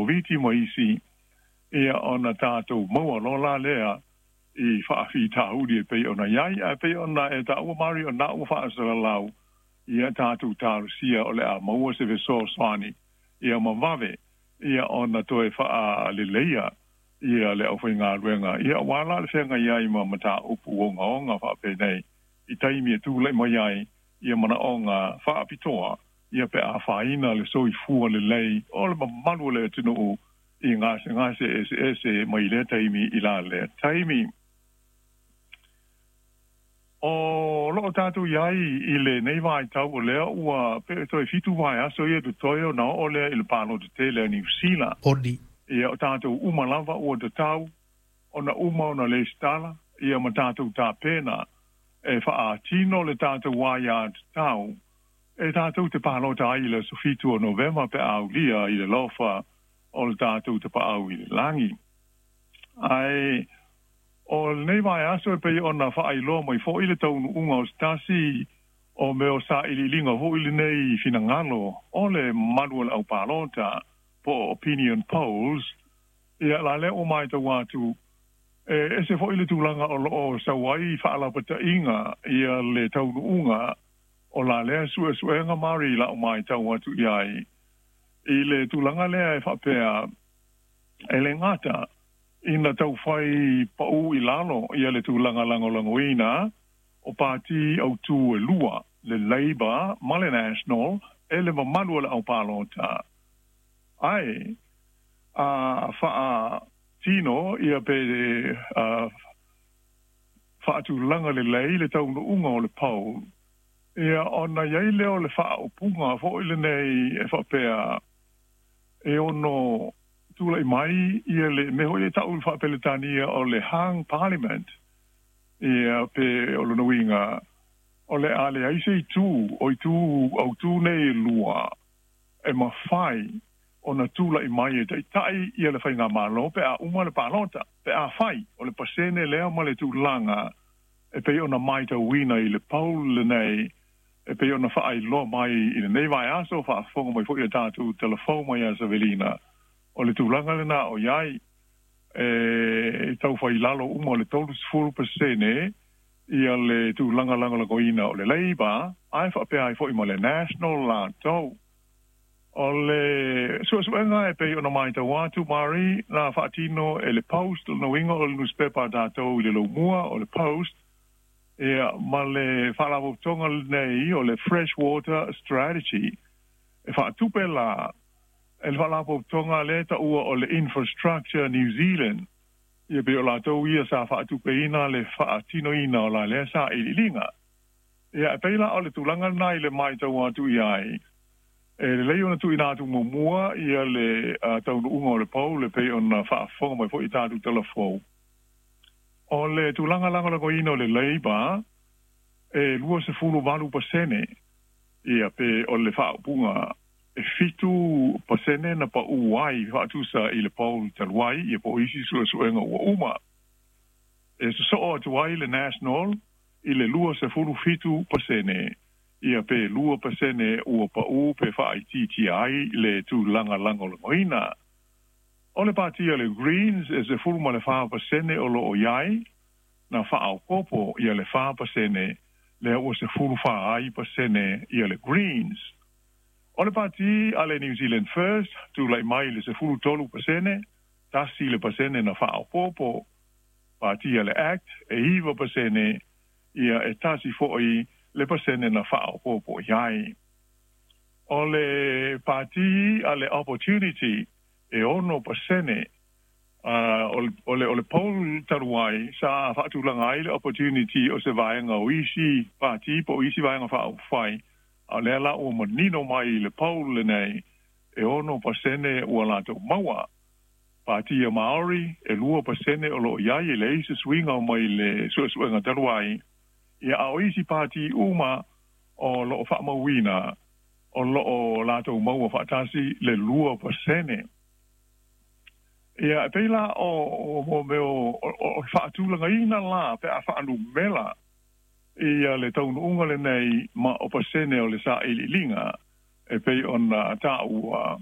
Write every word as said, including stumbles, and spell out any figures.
Koviti ma isi, ia ona tatou maua loa la lea i faafitauli e pei ona i ai, ae pei ona e taua Mari o na ua faasalalau, ia tatou talosia o le a maua se fesoasoani ia ma vave ia ona toe faaleleia ia le aufaigaluega, ia aua la le feagai ai ma mataupu ogaoga faapenei i taimi e tulai mai ai ia manaoga faapitoa, ia pe afaina le soifua lelei o le mamalu o le atunuu i gasegase eseese mai lea taimi i la lea taimi. O loo tatou iai i lenei vaitau o lea ua pe toe fitu vaiaso ia totoe ona oo lea i le palota tele a Niu Sila. Oni. Ia o tatou uma lava ua tatau ona uma ona lesitala ia ma tatou tapena e faatino le tatou aiatatau e tatou te palota ai i le aso fitu o Novema pe a aulia i le lofa o le tatou Tapaau i le lagi. Ae o lenei vaiaso e pei ona faailoa mai foi le taunuuga o se tasi o mea o sailiiliga foi lenei finagalo o le mamalu o le aupalota po o opinion polls, ia la lea ua matau atu e ese foi le tulaga o loo sau ai faalapataiga ia le taunuuga o la lea suesuega Mari lau matau atu i ai i le tulaga lea e faapea e le gata ina taufai pau i lalo ia le tulaga lagolagoina o pati autū e lua, le Labour ma le National, e le mamalu o le aupalota, ae a faatino ia pe a faatulaga lelei le taunuuga o le poll, ia ona i ai lea o le faaupuga foi lenei e faapea e ono tulai mai ia le mea foi e tau i le faapeletania o le hung parliament, ia pe o lona uiga o le a leai se itu o itu autū nei e lua e mafai ona tulai mai e taitai ia le faigamalo pe a uma le palota, pe a fai o le pasene lea ma le tulaga e pei ona matauina i le poll lenei e pei ona faailoa mai i lenei vaiaso, faafofoga mai foi ia tatou telefou mai ia Savelina, o le tulaga lena o iai e taufai i lalo uma o le thirty pasene ia le tulaga lagolagoina o le Labour, ae faapea ai foi ma le National latou. O le suesuega e pei ona matau atu Mari na faatino e le Post, lona uiga o le newspaper a tatou i le laumua o le Post, ia ma le faalapotopotoga lenei o le Freshwater Strategy e faatupe la e le faalapotopotoga lea taua o le Infrastructure New Zealand, ia pei o latou ia sa faatupeina le faatinoina o la lea sailiiliga. Ia e pei la o le tulaga lena i le matau atu i ai e lelei ona tuuina atu muamua ia le taunuuga o le poll e pei ona faafofoga mai foi i tatou talafou. O le tulaga lagolagoina o le Labour e twenty-eight pasene ia pe o le faaupuga e fitu pasene na pau ai faatusa i le poll talu ai ia po o isi suesuega ua uma. E sosoo atu ai le National i le twenty-seven pasene ia pe two pasene ua pau pe faaitiitia ai le tulaga lagolagoina. O le patia le Greens e four pasene o loo iai na faaopopo ia le four pasene lea ua four pasene ia le Greens. O le pati a le New Zealand First tulai mai le thirteen pasene, tasi le pasene na faaopopo. Pati a le Act e nine pasene ia e tasi foi le pasene na faaopopo iai. O le pati a le Opportunity e ono pasene uh, o le, o le poll talu ai sa faatulaga ai le Opportunity o se vaega o isi pati po o isi vaega faaupufai, a lea la ua manino mai le poll lenei e ono pasene ua latou maua. Pati a Maori e lua pasene o loo iai e leai se suiga o mai le suesuega talu ai, ia a o isi pati uma o loo faamauina o loo latou maua faatasi le lua pasene. Ia e pei la o o mea o o faatulagaina la pe a faanumela ia le taunuuga lenei ma o pasene o le sailiiliga e pei ona taua